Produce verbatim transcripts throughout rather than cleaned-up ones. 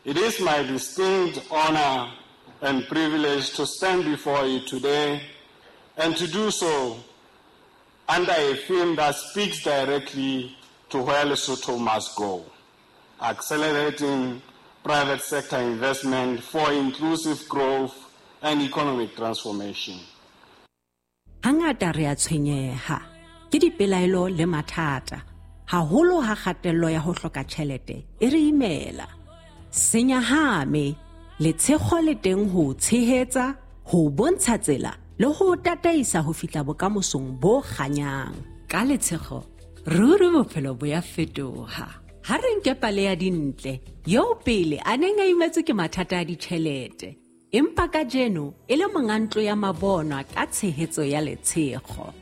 It is my distinct honor and privilege to stand before you today and to do so under a theme that speaks directly to where Lesotho must go, accelerating private sector investment for inclusive growth and economic transformation. Hangata re a tshwenyeha ke dipelaelo le mathata, haholo ha kgatello ya ho hloka tjhelete e re imela. Senyahame letshego le teng ho tshehetsa, ho bontsha tsela le ho tataisa ho fihla bokamosong bo kganyang. Ka letshego ruri bophelo bo ya fetoha. Ha re nke pale ya Dintle, eo pele a neng a imetswe ke mathata a ditjhelete, empa kajeno e le monga ntlo ya mabonwa ka tshehetso ya letshego.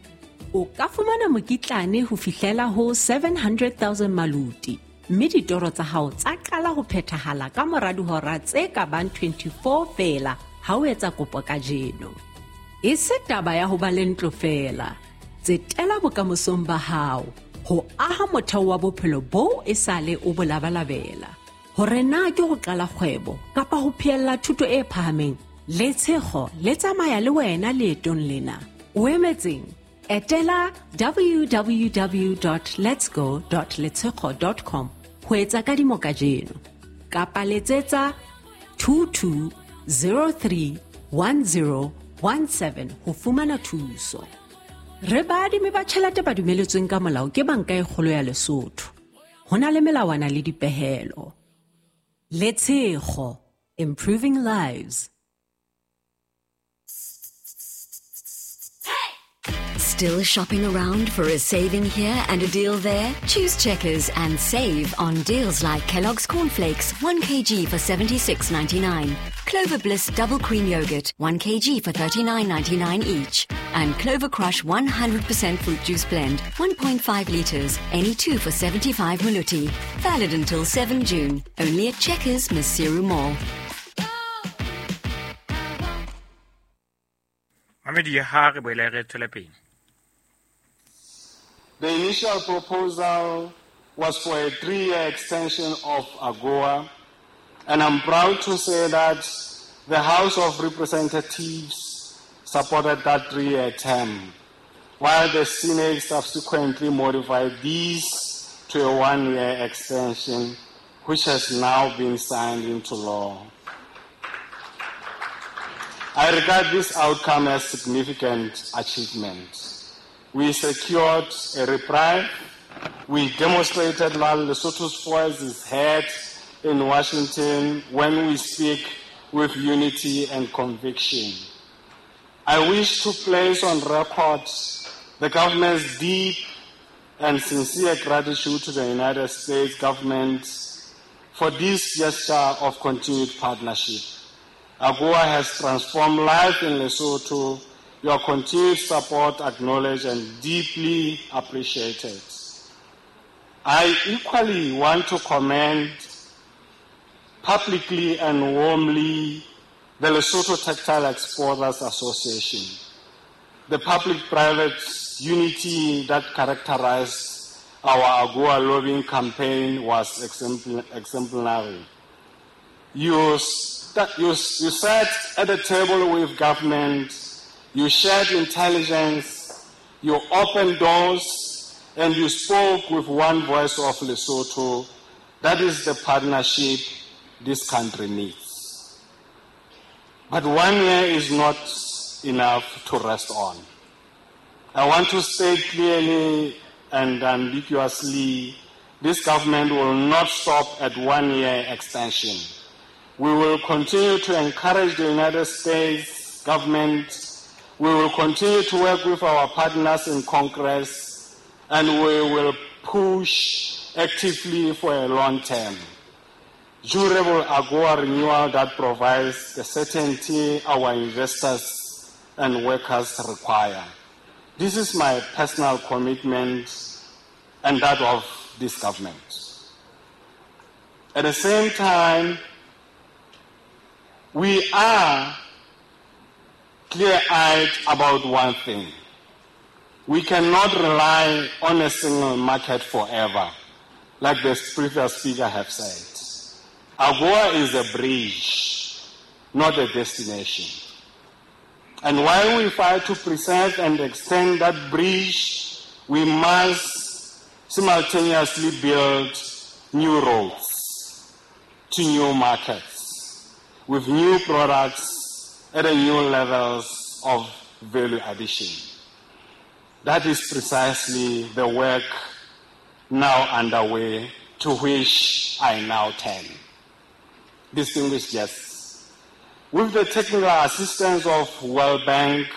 O ka fumana mokitlane ho fihlela ho seven hundred thousand maluti, mme ditoro tsa hao tsa qala ho phethahala ka mora dihora tse ka bang twenty-four feela ha o etsa kopo kajeno. E se taba ya ho ba le ntlo feela, tsetela bokamosong ba hao ho aha motheo wa bophelo boo e sale o bo labalabela. Hore na ke ho qala kgwebo kapa ho phehella thuto e phahameng, letshego le tsamaya le wena leetong lena. O emetseng? Etela w w w dot letsgo dot letshego dot com ho etsa kadimo kajeno kapa letsetsa two two zero three one zero one seven ho fumana thuso. Re baadimi ba tjhelete ba dumeletsweng ka molao ke Banka e Kgolo ya Lesotho. Ho na le melawana le dipehelo. Letshego, improving lives. Still shopping around for a saving here and a deal there? Choose Checkers and save on deals like Kellogg's Cornflakes, one kilogram for seventy-six ninety-nine, Clover Bliss Double Cream Yogurt, one kilogram for thirty-nine ninety-nine each, and Clover Crush one hundred percent Fruit Juice Blend, one point five litres, any two for seventy-five maluti. Valid until seven June, only at Checkers, Maseru Mall. Mamedi ha re boele re tswele pele. The initial proposal was for a three-year extension of AGOA, and I'm proud to say that the House of Representatives supported that three-year term, while the Senate subsequently modified these to a one-year extension, which has now been signed into law. I regard this outcome as significant achievement. We secured a reprieve. We demonstrated that Lesotho's voice is heard in Washington when we speak with unity and conviction. I wish to place on record the government's deep and sincere gratitude to the United States government for this gesture of continued partnership. AGOA has transformed life in Lesotho. Your continued support acknowledged and deeply appreciated. I equally want to commend publicly and warmly the Lesotho Textile Exporters Association, the public-private unity that characterized our AGOA lobbying campaign was exemplary. You, st- you, you sat at the table with government, you shared intelligence, you opened doors, and you spoke with one voice of Lesotho. That is the partnership this country needs. But one year is not enough to rest on. I want to state clearly and ambiguously, this government will not stop at one year extension. We will continue to encourage the United States government. We will continue to work with our partners in Congress, and we will push actively for a long-term, durable AGOA renewal that provides the certainty our investors and workers require. This is my personal commitment and that of this government. At the same time, we are clear-eyed about one thing. We cannot rely on a single market forever, like the previous speaker have said. AGOA is a bridge, not a destination. And while we fight to preserve and extend that bridge, we must simultaneously build new roads to new markets with new products at a new levels of value addition. That is precisely the work now underway, to which I now turn. Distinguished guests, with the technical assistance of World Bank,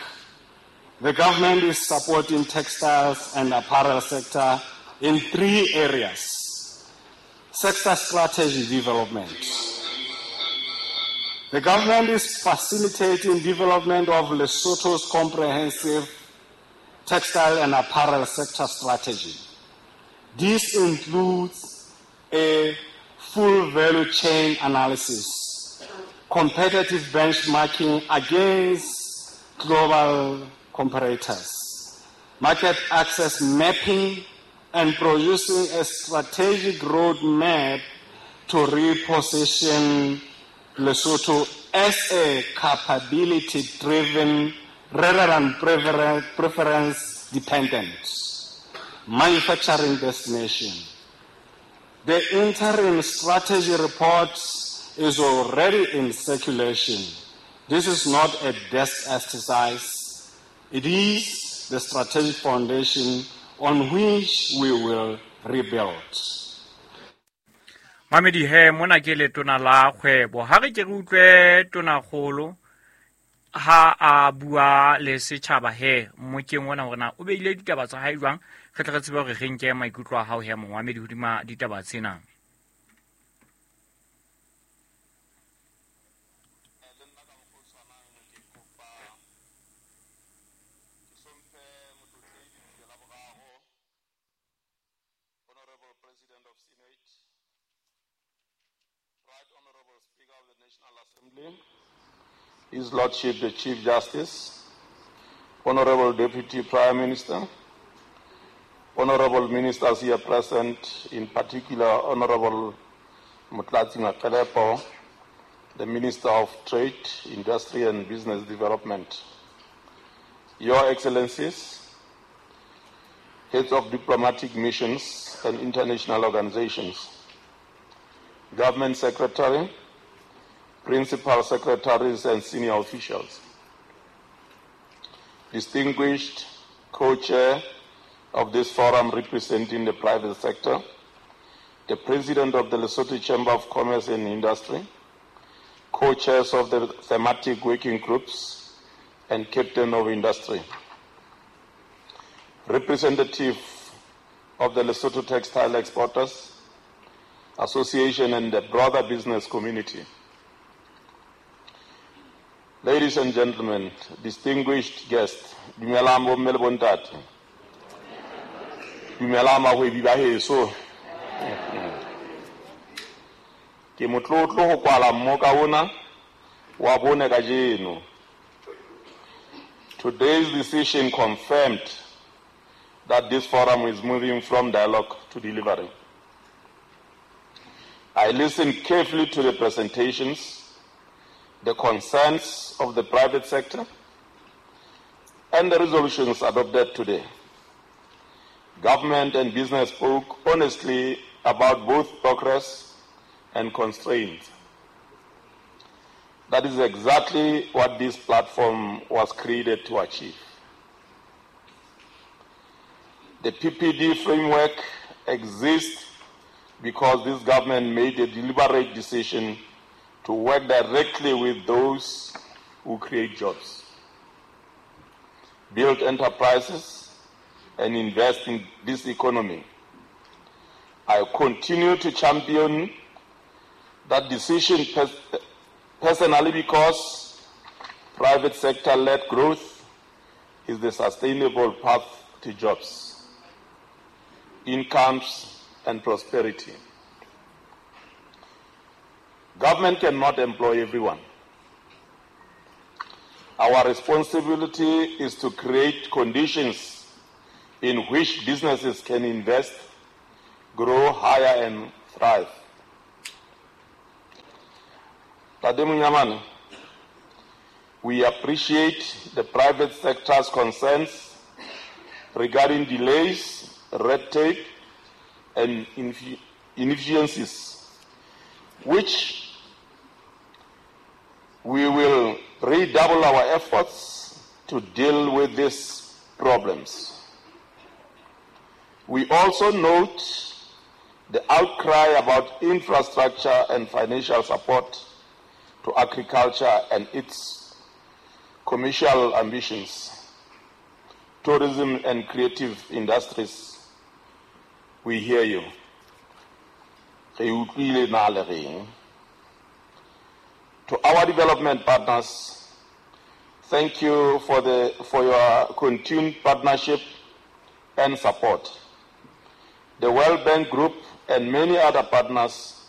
the government is supporting textiles and apparel sector in three areas. Sector strategy development. The government is facilitating development of Lesotho's comprehensive textile and apparel sector strategy. This includes a full value chain analysis, competitive benchmarking against global comparators, market access mapping, and producing a strategic roadmap to reposition Lesotho as a capability-driven rather than preference-dependent manufacturing destination. The interim strategy report is already in circulation. This is not a desk exercise. It is the strategic foundation on which we will rebuild. Mamedi he mona ke letona la kgwebo ha re ke re utlwe tonakgolo ha a bua le setjhaba he mmokeng ona hore na o beile ditaba tsa hae jwang, re tle re tsebe hore re nke maikutlo a hao he mongwamedi hodima ditaba tsena. His Lordship the Chief Justice, Honorable Deputy Prime Minister, Honorable Ministers here present, in particular Honorable Motlatsi Maqelepo, the Minister of Trade, Industry and Business Development, Your Excellencies, Heads of Diplomatic Missions and International Organizations, Government Secretary, Principal Secretaries and Senior Officials, distinguished co-chair of this forum representing the private sector, the President of the Lesotho Chamber of Commerce and Industry, co-chairs of the thematic working groups, and Captain of Industry, representative of the Lesotho Textile Exporters Association and the broader business community. Ladies and gentlemen, distinguished guests, dumelang bomme le bontate. Dumelang bahwebi ba heso. Ke motlotlo ho kwala mmoka ona wa bone kajeno. Today's decision confirmed that this forum is moving from dialogue to delivery. I listened carefully to the presentations, the concerns of the private sector, and the resolutions adopted today. Government and business spoke honestly about both progress and constraints. That is exactly what this platform was created to achieve. The P P D framework exists because this government made a deliberate decision to work directly with those who create jobs, build enterprises, and invest in this economy. I continue to champion that decision pers- personally because private sector-led growth is the sustainable path to jobs, incomes, and prosperity. Government cannot employ everyone. Our responsibility is to create conditions in which businesses can invest, grow higher, and thrive. Ntate Monyamane, we appreciate the private sector's concerns regarding delays, red tape, and inefficiencies, which we will redouble our efforts to deal with these problems. We also note the outcry about infrastructure and financial support to agriculture and its commercial ambitions, tourism and creative industries. We hear you. Re utlwile na le reng. To our development partners, thank you for, the, for your continued partnership and support. The World Bank Group and many other partners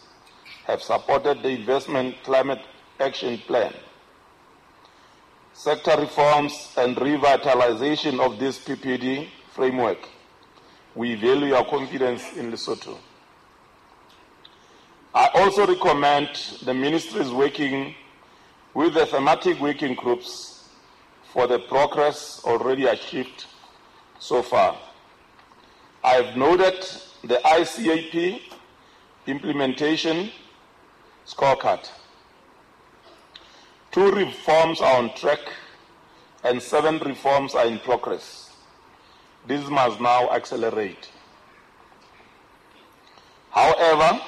have supported the Investment Climate Action Plan. Sector reforms and revitalization of this P P D framework. We value your confidence in Lesotho. I also recommend the ministries working with the thematic working groups for the progress already achieved so far. I have noted the I C A P implementation scorecard. Two reforms are on track and seven reforms are in progress. This must now accelerate. However,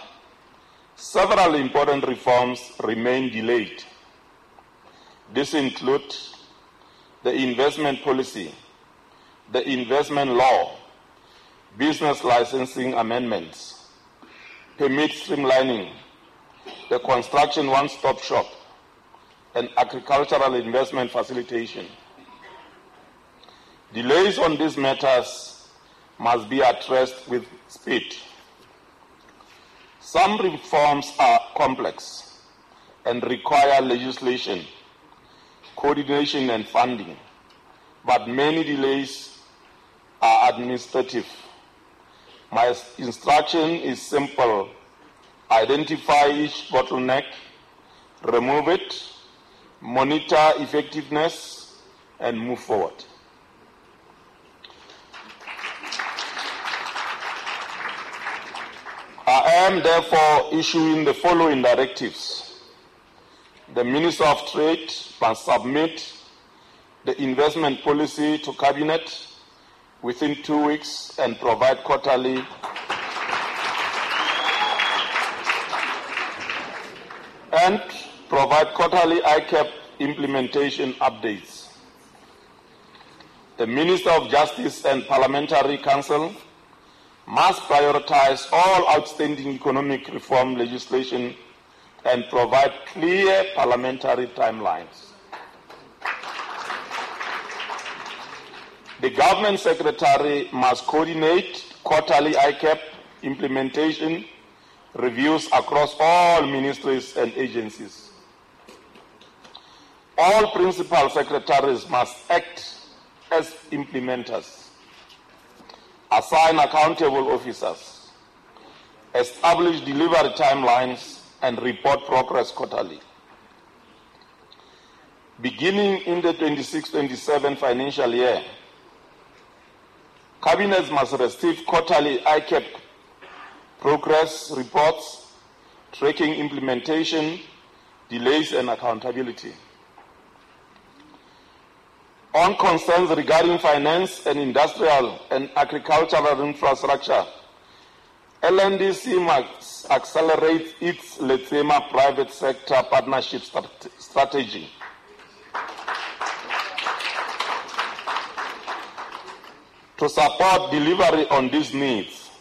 several important reforms remain delayed. This includes the investment policy, the investment law, business licensing amendments, permit streamlining, the construction one-stop shop, and agricultural investment facilitation. Delays on these matters must be addressed with speed. Some reforms are complex and require legislation, coordination, and funding, but many delays are administrative. My instruction is simple. Identify each bottleneck, remove it, monitor effectiveness, and move forward. I am therefore issuing the following directives. The Minister of Trade must submit the investment policy to Cabinet within two weeks and provide quarterly and provide quarterly I C A P implementation updates. The Minister of Justice and Parliamentary Council must prioritize all outstanding economic reform legislation and provide clear parliamentary timelines. The government secretary must coordinate quarterly I C A P implementation reviews across all ministries and agencies. All principal secretaries must act as implementers, assign accountable officers, establish delivery timelines, and report progress quarterly. Beginning in the twenty-six twenty-seven financial year, cabinets must receive quarterly I C A P progress reports, tracking implementation, delays, and accountability. On concerns regarding finance and industrial and agricultural infrastructure, L N D C must accelerate its Letsema private sector partnership strat- strategy. To support delivery on these needs,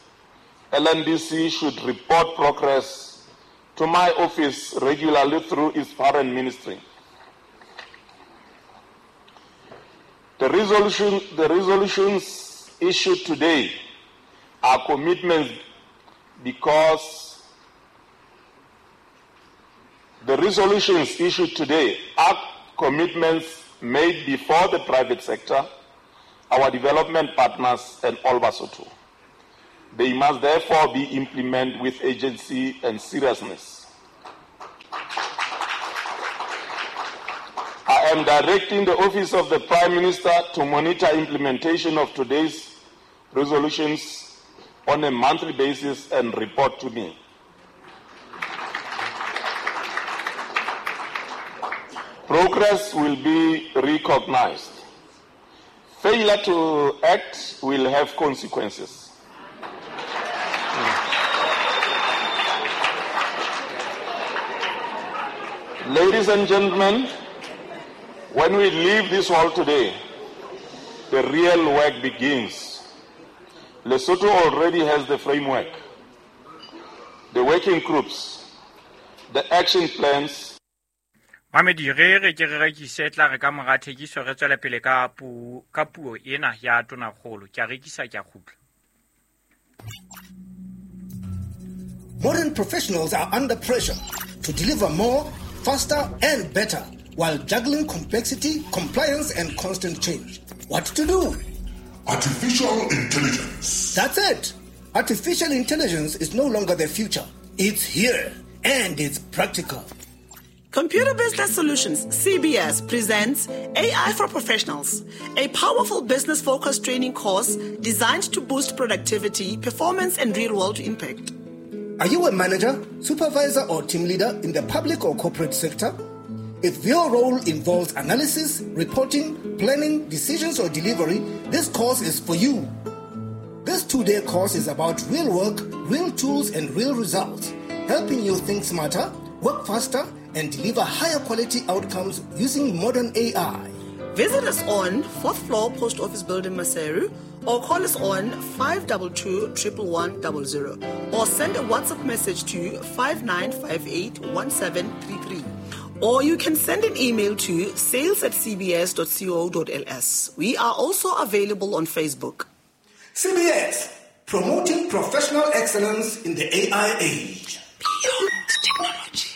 L N D C should report progress to my office regularly through its parent ministry. The, resolution, the resolutions issued today are commitments because the resolutions issued today are commitments made before the private sector, our development partners, and all Basotho. They must therefore be implemented with urgency and seriousness. am directing the Office of the Prime Minister to monitor implementation of today's resolutions on a monthly basis and report to me. Progress will be recognized. Failure to act will have consequences. Ladies and gentlemen, when we leave this hall today, the real work begins. Lesotho already has the framework, the working groups, the action plans. Mamedi re re ke re rekise tla re ka mora thekiso re tswele pele ka puo ka puo ena ya tonakgolo. Ke a rekisa ke a kgutla. Modern professionals are under pressure to deliver more, faster and better while juggling complexity, compliance and constant change. What to do? Artificial intelligence. That's it. Artificial intelligence is no longer the future. It's here and it's practical. Computer Business Solutions, C B S, presents A I for Professionals, a powerful business-focused training course designed to boost productivity, performance, and real-world impact. Are you a manager, supervisor, or team leader in the public or corporate sector? If your role involves analysis, reporting, planning, decisions, or delivery, this course is for you. This two-day course is about real work, real tools, and real results, helping you think smarter, work faster, and deliver higher quality outcomes using modern A I. Visit us on fourth floor Post Office Building, Maseru, or call us on five two two, one one one zero zero or send a WhatsApp message to five nine five eight one seven three three. Or you can send an email to sales at c b s dot co dot l s. We are also available on Facebook. C B S, promoting professional excellence in the A I age. Beyond technology.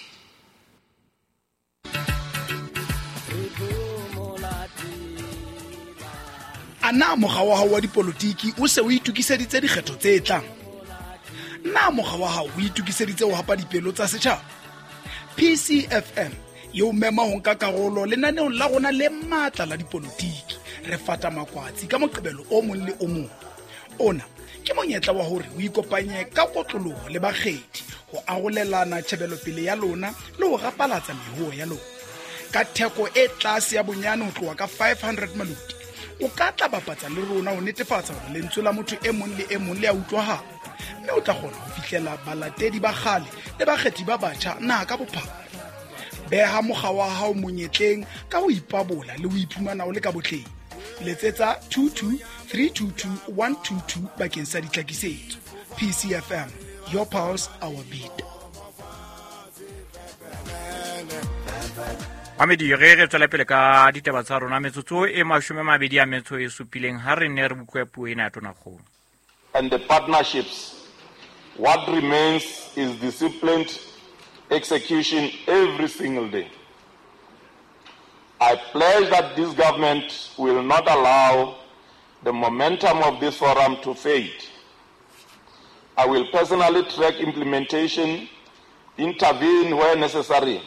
A na mokga wa hao wa dipolotiki o se o itokiseditse dikgetho tse tlang? Na mokga wa hao o itokiseditse ho hapa dipelo tsa setjhaba? P C F M e o mema ho nka karolo lenaneong la rona le matla la dipolotiki. Re fata makwatsi ka Moqebelo o mong le o mong. Ona ke monyetla wa hore o ikopanye ka kotloloho le bakgethi ho arolelana tjhebelopele ya lona le ho rapalatsa mehuo ya lona. Ka theko e tlase ya bonyane ho tloha ka five hundred maluti, o ka tla bapatsa le rona ho netefatsa hore lentswe la motho e mong le e mong le a utlwahala, mme o tla kgona ho fihlela balatedi ba kgale le bakgethi ba batjha naha ka bophara. Beha mokga wa hao monyetleng ka ho ipabola le ho iphumana o le ka botleng. Letsetsa two two three two two one two two bakeng sa ditlhakisetso. P C F M, your pulse, our beat. Mamedi re re tswela pele ka ditaba tsa rona metsotso e mashome mabedi a metso e supileng ha re ne re bukwe puo ena ya tonakgolo. And the partnerships, what remains is disciplined execution every single day. I pledge that this government will not allow the momentum of this forum to fade. I will personally track implementation, intervene where necessary,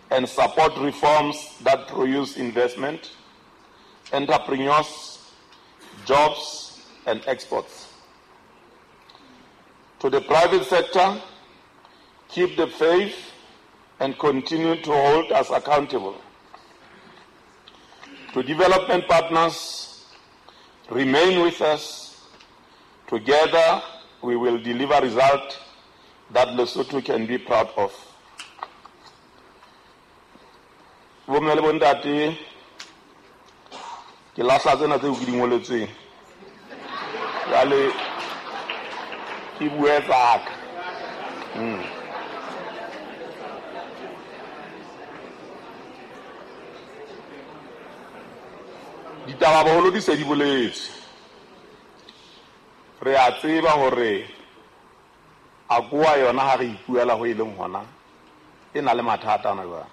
and support reforms that produce investment, entrepreneurs, jobs, and exports. To the private sector, keep the faith and continue to hold us accountable. To development partners, remain with us. Together, we will deliver results that Lesotho can be proud of. Bomme le bontate, ke lahla tsena tseo ke di ngoletsweng. Jwale ke bue tsaka. Mm. Ditaba boholo di se di boletswe. Re a tseba hore AGOA yona ha re ipuela ho e leng hona e na le mathata ana jwale.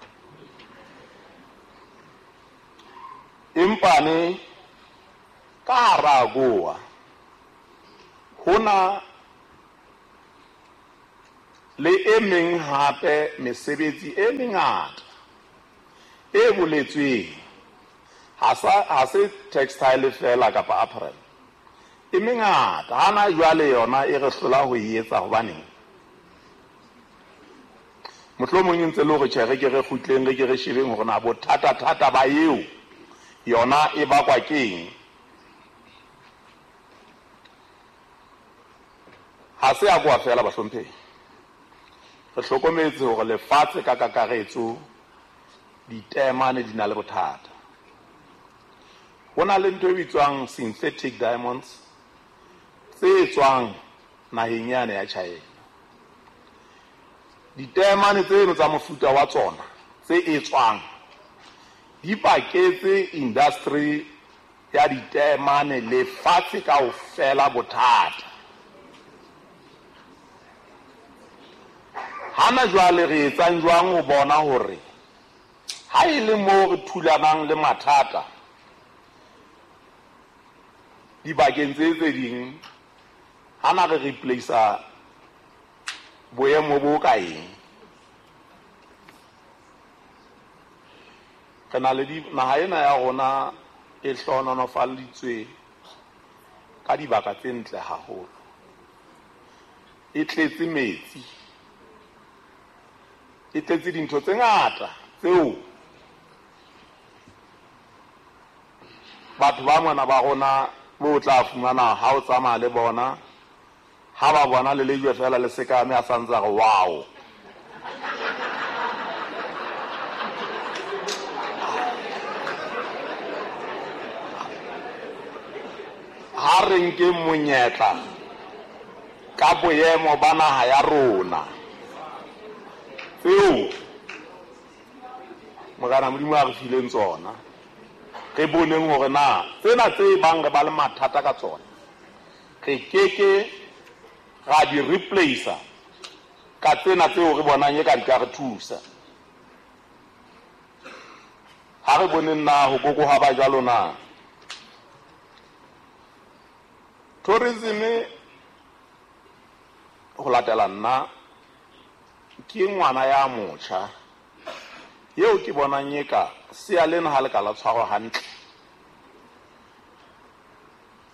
Empa ne ka hara AGOA hona le e meng hape mesebetsi e mengata e boletsweng Ha sa ha se textile fela kapa apparel. E mengata hana jwale yona e re hlola ho e etsa hobaneng. Mohlomong ntse le hore tjhe re ke re kgutleng re ke re shebeng hore na bothata thata ba eo yona e bakwa keng. Ha se a kwa fela bahlomphehi. Re hlokometse hore lefatshe ka kakaretso ditemane di na le bothata. Ho na le ntho e bitswang synthetic diamonds tse tswang naheng yane ya China. Ditemane tseno tsa mofuta wa tsona tse etswang di paketse industry ya ditemane lefatshe kaofela bothata. Hana jwale re etsang jwang ho bona hore ha e le moo re thulanang le mathata dibakeng tse tse ding, hana re replace boemo bo ka eng. Re na le naha ena ya rona e hlohonolofaditswe ka dibaka tse ntle haholo, e tletse metsi, e tletse dintho tse ngata tseo batho ba mona ba rona bo tla fumana ha o tsamaya le bona, ha ba bona le lejwe fela le sekame a santsa re wow. Ha re nke monyetla ka boemo ba naha ya rona tseo Morena Modimo a re fileng tsona, re boneng hore na tsena tse bang re ba le mathata ka tsona re keke ra di replace ka tsena tseo re bonang e ka di ka re thusa. Ha re boneng na ho kokoha ba jwalo na. Tourism ho latela nna ke ngwana ya motjha eo ke bonang e ka sea lena ha le ka la tshwarwa hantle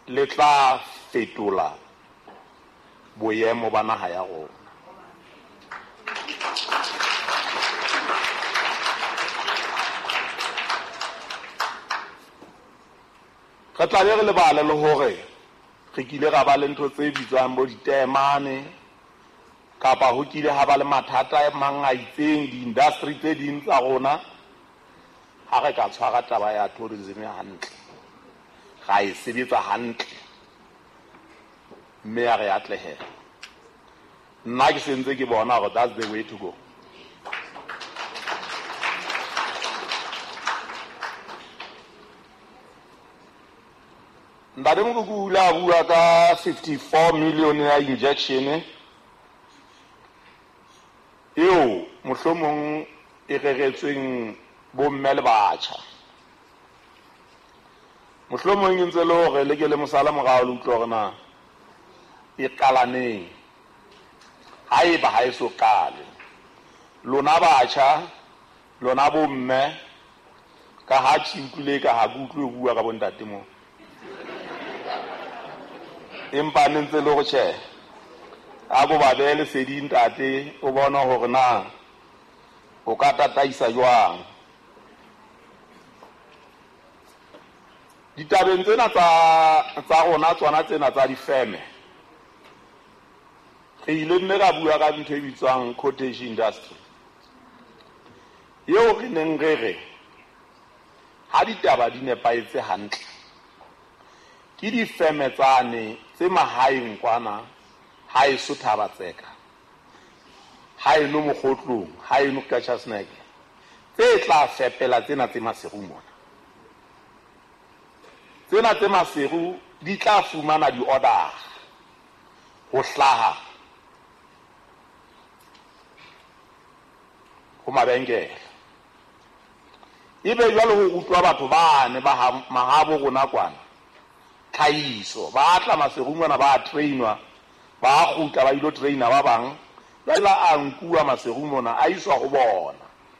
le tla fetola boemo ba naha ya rona. Re tla be re lebale le hore re kile ra ba le ntho tse bitswang bo ditemane kapa ho kile ha ba le mathata a mang a itseng di-industry tse ding tsa rona. Ha re ka tshwara taba ya tourism hantle, ra e sebetsa hantle mme ya re atlehela, nna ke sentse ke bona hore that's the way to go. Ntate Mokoku o ile a bua ka fifty-four million ya injection eo mohlomong e reretsweng bomme le batjha. Mohlomong e ntse le hore le ke le mosala morao le utlwe hore na e qala neng. Haeba ha e so qale, lona batjha, lona bomme, ka ha ke utlwile ka ha ke utlwe ho bua ka bontate moo, empa ne ntse le hore tjhe a bo ba behe lesedi ntate, o bona hore na o ka tataisa jwang. Ditabeng tsena tsa tsa rona tsona tsena tsa difeme, re ile nne ra bua ka ntho e bitswang cottage industry eo re neng re re ha ditaba di nepahetse hantle ke difeme tsane tse mahaeng kwana ha e so thaba tseka, ha eno Mokgotlong, ha eno Qacha's Nek, tse tla fepela tsena tse Maseru mona. Tsena tse Maseru di tla fumana di-order ho hlaha ho mabenkele. Ebe jwale ho rutwa batho bane ba mahabo rona kwana tlhahiso, ba tla Maseru mona ba trainwa, ba kgutla ba ilo traina ba bang, jwale a nkuwa Maseru mona a iswa ho bona.